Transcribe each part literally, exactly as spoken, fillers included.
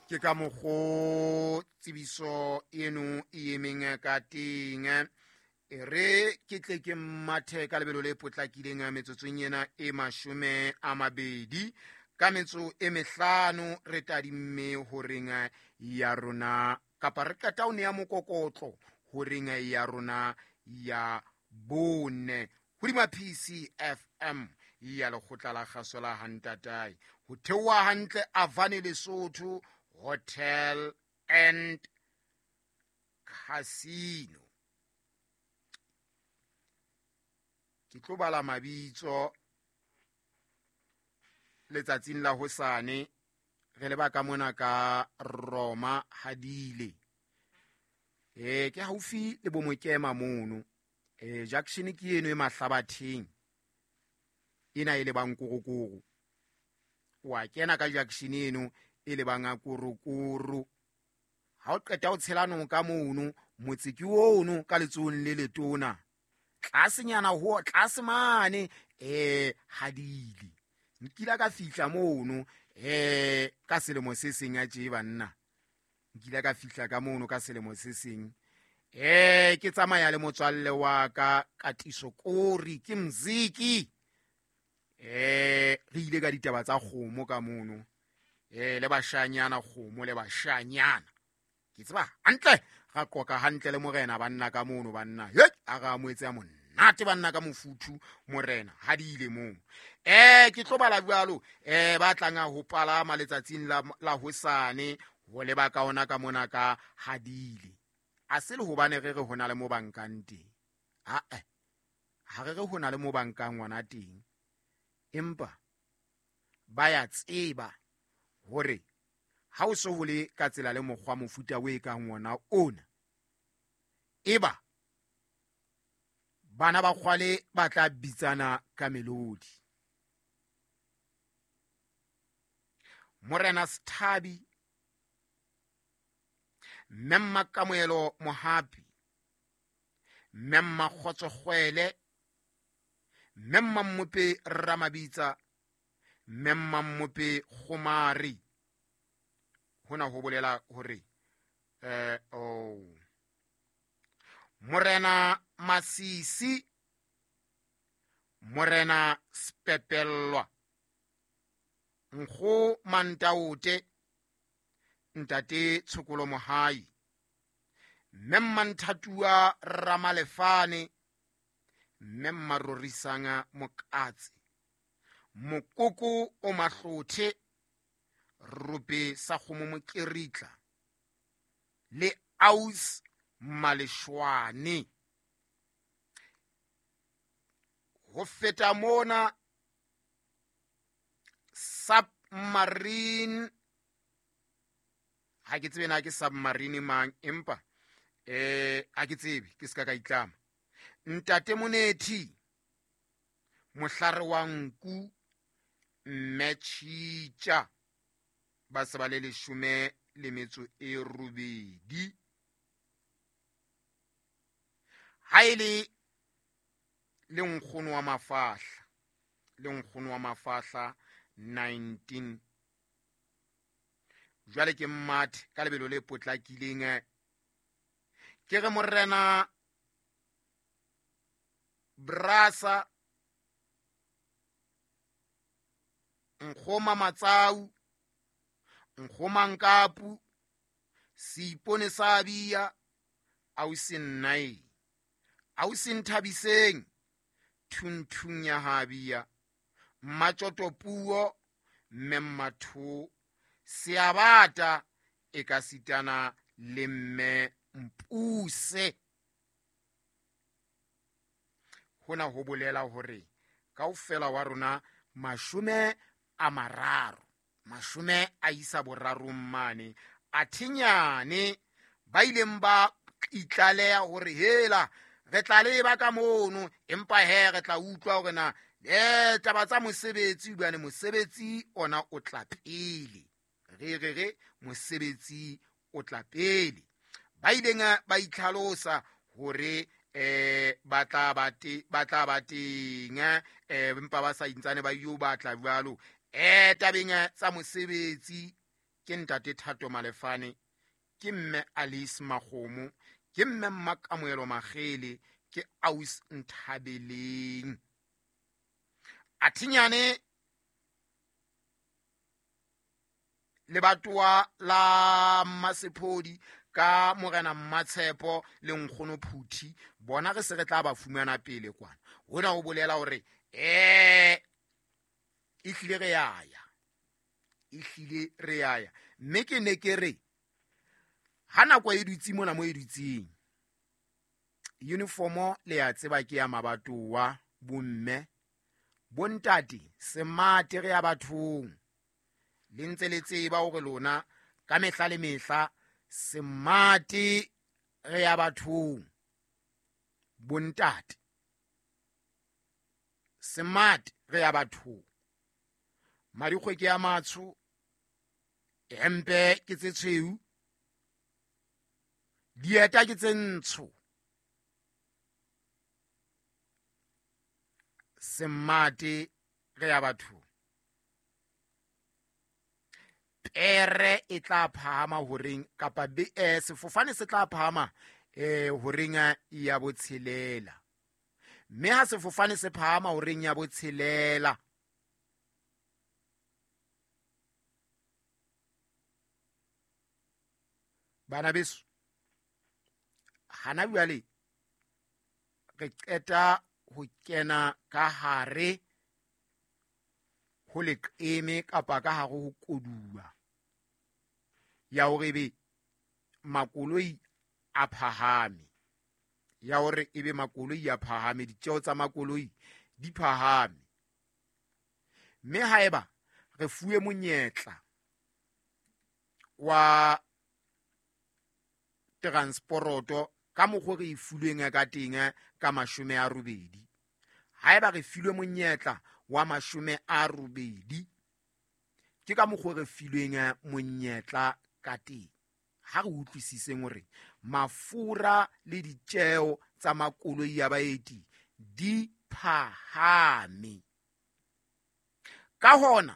Ke ka mokgo tsebiso eno e emeng ka teng. E re ke tle ke mathe ka lebelo le potlakileng metsotsong ena e mashome a mabedi ka metso e mehlano re tadimme horeng ya rona kapa re qeta ho nea mokokotlo horeng ya rona ya bone hodima P C F M ya lekgotla la kgaso la Hantatae ho theoha hantle Avane Lesotho Hotel and Casino. Ke tlo bala mabitso letsatsing la hosane re leba ka mona ka Roma Hadile. Eh ke haufi le Bomokema mono. Eh junction ke eno e Mahlabatheng. Ena e lebang Korokoro. Wa kena ka junction eno e lebang Korokoro. Ha o qeta o tshela noka mono, motse ke ono ka letsohong le letona. Tlasenyana ho tlase mane eh Hadile. Nkila ka fihla mono eh ka selemo se seng a tje banna. Nkila ka fihla ka mono ka selemo se seng. Eh ke tsamaya le motswalle wa ka Katiso Kori ke mziki. Eh re ile ka ditaba tsa kgomo ka mono. Eh le bashanyana kgomo le bashanyana. Ke tseba hantle ra qoka hantle le morena banna ka mono banna. He a ra moetse a monate banna ka mofuthu morena Hadile moo. Eh ke tlo bala jwalo eh ba tlang ho palama letsatsing la la hosane ho leba ka ona ka mona ka Hadile. A se le hobane re re hona le mo bankang teng. A eh ha re re hona le mo bankang ngwana teng. Empa ba ya tseba hore ha o so hole ka tsela le mokgwa mofuta o e kang wona ona. Eba bana ba kgwale ba tla bitsana ka melodi. Morena Sthabi, Mme Kamoelo Mohapi, Mme Kgotso Kgwele, Mme Mmope Ramabitsa, Mme Mmope Kgomari. Hona ho bolela hore eh oh Morena Masisi, Morena Spepellwa, Nkgo Mantaote, Ntate Tshokolo Mohai, Mme Manthatua Ramalefane, Mme Marorisanga Mokatse, Mokoko o Mahlothe, Rupe sa kgomo mokeritla le Aus Maleshwane. Ho feta mona submarine ha ke tsebe na ke submarine mang empa eh ha ke tsebe ke ska ka itlama. Ntate Monethi mohlare wa nku mme Tjitja ba se ba le leshome le metso e robedi. Ha ele le nkgono wa mafahla le nkgono wa mafahla nineteen jwale ke mmathe ka lebelo le potlakileng ke re morena Brasa Nkgoma Matsau Nkgoma Nkapu Seipone sa Bia ausi Nnai ausi Nthabiseng Thunthung ya Habia Mmatjoto Puo mme Mmatho Seabata e ka sitana le mme Mpuse. Hona ho bolela hore kaofela wa rona mashome a mararo mashome a isa borarong mane a thinyane ba ileng ba itlaleha hore hela re tla leba ka mono empa he re tla utlwa hore na eh taba tsa mosebetsi bane mosebetsi ona o tla pele re re re mosebetsi o tla pele ba ileng ba itlhalosa hore eh ba tla ba te ba tla ba teng eh empa ba sa intsane ba yo batla jwalo eh tabeng tsa mosebetsi Ke ntate Thato Malefane, ke mme Alice Makgomo, ke mme Mmakamoelo Makgele, ke Aus Nthabeleng. Athinyane lebatowa la Mmasepodi ka morena Mmatshepo le nkgono Phuthi, bona re se re tla ba fumana pele kwana. Hona ho bolela hore eh e hlile re yaya, e hlile re yaya. Mme ke ne ke re ha nako e dutse mona mo e dutseng, uniformo le ya tseba ke ya mabatowa, bomme, bontate, semate re ya bathong. Le ntse le tseba hore lona ka mehla le mehla semate re ya bathong, bontate, semate re ya bathong. Marikgwe ke ya matsho, hempe ke tse tshweu, dieta ke tse ntsho. Semate re ya bathong. Pere e tla phahama horeng kapa be, eh, sefofane se tla phahama eh horeng ya botshelela. Mme ha sefofane se phahama horeng ya botshelela, bana beso, hana jwale re qeta ho kena ka hare ho leqeme kapa ka hare ho koduwa ya hore ebe makoloi a phahame, ya hore ebe makoloi a phahame, ditjeo tsa makoloi di phahame. Mme haeba re fuwe monyetla wa transporoto ka mokgwa re e fulweng ka teng ka mashome a robedi, haeba re filwe monyetla wa mashome a robedi, ke ka mokgwa re filweng monyetla ka teng. Ha re utlwisiseng hore mafura le ditjeo tsa makoloi ya baeti di phahame. Ka hona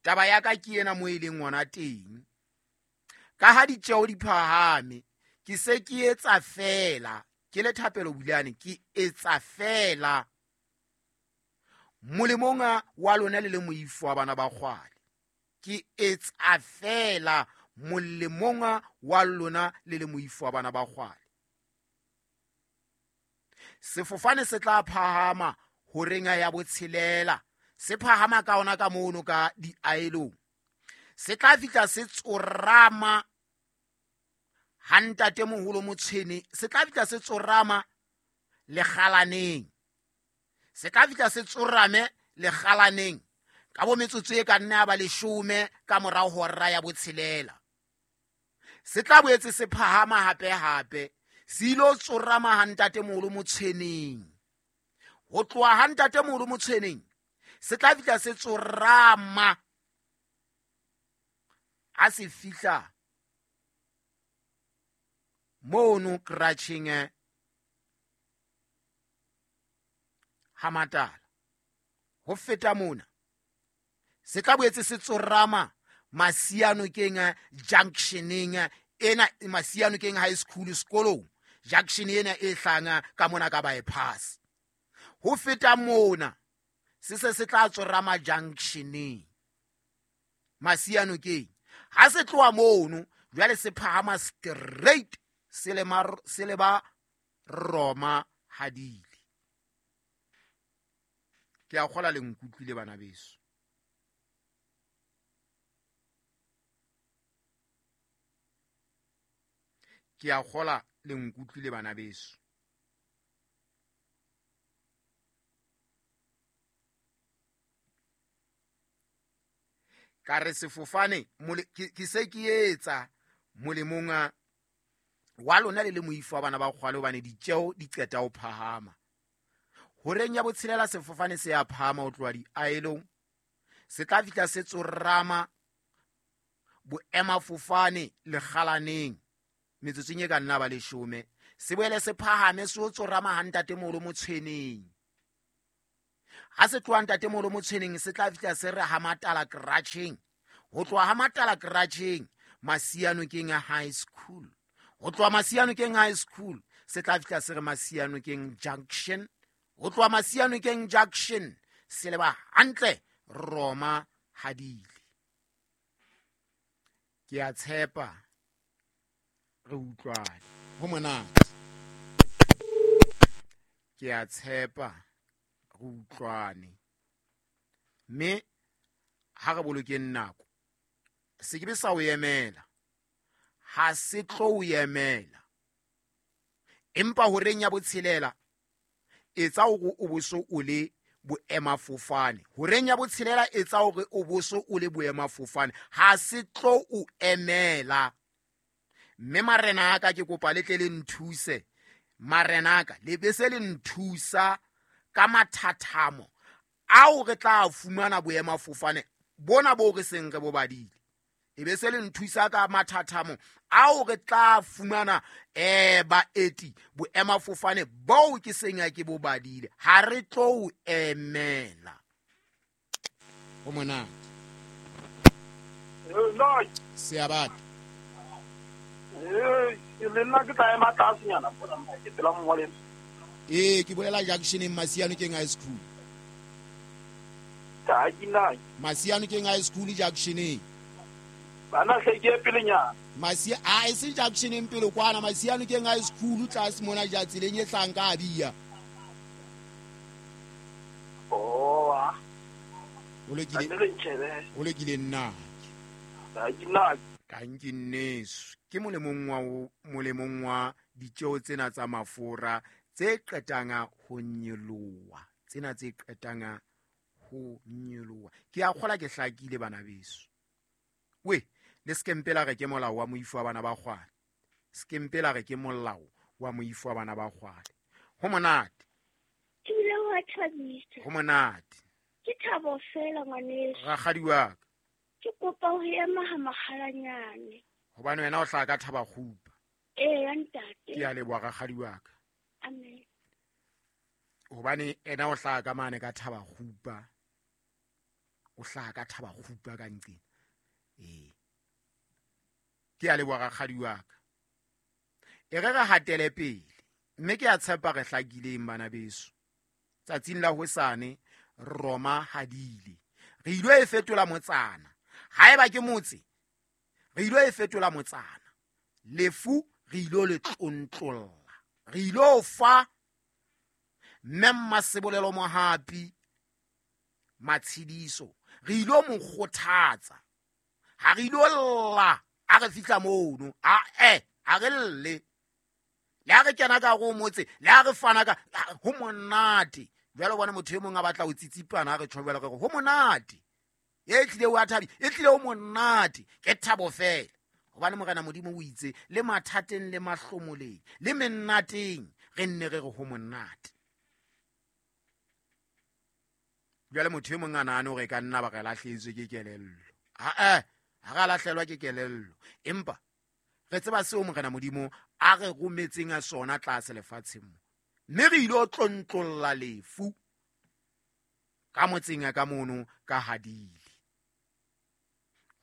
taba ya ka ke ena mo e leng hona teng. Ka ha ditjeo di phahame, ke se ke etsa feela, ke le Thapelo Bulane, ke etsa feela molemong wa lona le le moifo wa bana ba kgwale. Ke etsa feela molemong wa lona le le moifo wa bana ba kgwale. Sefofane se tla phahama horeng ya botshelela, se phahama ka ona ka mono ka diaelong, se tla fihla se tsorama ha ntate moholo Motshwene, se tla fihla se tsorama lekgalaneng, se tla fihla se tsorame lekgalaneng ka bo metsotso e ka nna ya ba leshome ka morao hora ya botshelela. Se tla boetse se phahama hape hape, se ilo tsorama ha ntate moholo Motshweneng. Ho tloha ha ntate moholo Motshweneng se tla fihla se tsorama ha se fihla mono kratjheng ha Matala. Ho feta mona se tla boetse se tsorama Masianokeng junctioneng ena, Masianokeng High School sekolong, junction ena e hlanga ka mona ka bypass. Ho feta mona se se se tla tsorama junctioneng Masianokeng. Ha se tloha mono jwale se phahama straight se le se le ba Roma hadile. Ke a kgola le nkutlwile bana beso. Ke a kgola le nkutlwile bana beso. Ka re sefofane ke se ke etsa molemong wa lona le le moifo wa bana ba kgwale, hobane ditjeo di qeta ho phahama. Horeng ya botshelela sefofane se ya phahama ho tloha diaelong, se tla fihla se tsorama boemafofane lekgalaneng metsotsong e ka nna ba leshome, se boele se phahame se o tsorama ha ntate moholo Motshweneng. Ha se tloha ntate moholo Motshweneng se tla fihla se re ha Matala kratjheng. Ho tloha ha Matala Kratjheng Masianokeng High School. Ho tloha Masianokeng High School se tla fihla se re Masianokeng Junction. Ho tloha Masianokeng Junction se leba hantle Roma Hadile. Ke a tshepa re utlwane. Ho monate. Ke a tshepa re utlwane. Mme ha re bolokeng nako, se ke be sa o emela. Ha se tlo o emela. Empa horeng ya botshelela etsa hore o boso o le boemafofane. Horeng ya botshelela etsa hore o boso o le boemafofane. Ha se tlo o emela. Mme marena a ka ke kopa le tle le nthuse. Marena a ka le be se le nthusa ka mathathamo ao re tla fumana boemafofane bona bo re seng re bo badile. E be se le nthusa ka mathathamo ao re tla fumana eh baeti boemafofane boo ke seng ya ke bo badile. Ha re tlo o emela. Ho monate. Seabata. Eh, le nna ke tla ema tlasenyana mona ke pela mongwaleng. Eh, ke bolela Junctioneng Masianokeng High School. Ta ke nna. Masianokeng High School Junctioneng. Bana hle ke pelenyana. Masia a e se Junctioneng pele kwana Masianokeng High School tlase mona ja tseleng e hlang ka Abia. Oh. O lokile. O lokile nna. Ta ke nna. Tanki nneso. Ke molemong wa molemong wa ditjeo tsena tsa mafura tse qetang ho nyoloha. Tsena tse qetang ho nyoloha. Ke a kgola ke hlakile bana beso. We, le skempela re ke molao wa moifo wa bana ba kgwale. Skempela re ke molao wa moifo wa bana ba kgwale. Ho monate. Ke ile wa thabisa. Ho monate. Ke thabo fela ngwaneso. Rakgadi wa ka. Ke kopa ho ema ha makgalanyane. Hobane wena o hlaha ka thaba kgupa. Ee, ntate. Ke a leboha rakgadi wa ka. Amen. Hobane ena o hlaha ka mane ka thaba kgupa. O hlaha ka thaba kgupa ka nqena. Ee. Ke a leboha rakgadi wa ka. E re re hatele pele. Mme ke a tshepa re hlakileng bana beso. Tsatsing la hosane Roma Hadile. Re ilo e fetola motsana. Haeba ke motse, re ilo e fetola motsana. Lefu re ilo le tlontlolla. Re ilo fa mme Mmasebolelo Mohapi matshidiso. Re ilo mo kgothatsa. Ha re ilo lla a re fihla mono. A eh a re lle. Le ha re kena ka go motse, le ha re fana ka ho monate. Jwale bona motho e mong a batla ho tsitsipana a re tjhobela re ho monate. E tlile o a thabi, e tlile o monate. Ke thabo fela. Hobane Morena Modimo o itse le mathateng le mahlomoleng le mennateng re nne re re ho monate. Jwale motho e mong a nahane hore e ka nna ba re lahlehetswe ke kelello. Ha eh ha re lahlelwa ke kelello. Empa re tseba seo Morena Modimo a re rometseng a sona tlase lefatsheng mo. Mme re ilo tlontlolla lefu ka motseng ka mono ka Hadile.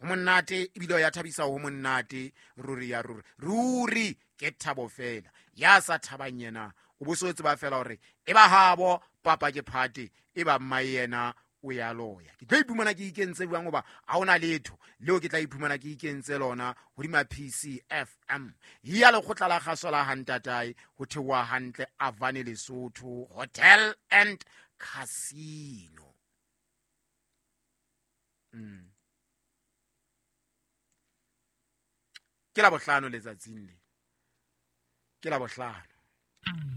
Ho monate ebile ya thabisa ho monate ruri ya ruri. Ruri ke thabo fela. Ya sa thabang yena o bo so tseba fela hore e ba habo papa ke phate e ba mma yena o ya loya. Ke tlo iphumana ke ikentse bjang hoba ha ona letho leo ke tla iphumana ke ikentse lona hodima P C F M. Ya lekgotla la kgaso la Hantatae ho theoha hantle Avane Lesotho Hotel and Casino. Mm. Ke la bohlano letsatsing le. Ke la bohlano.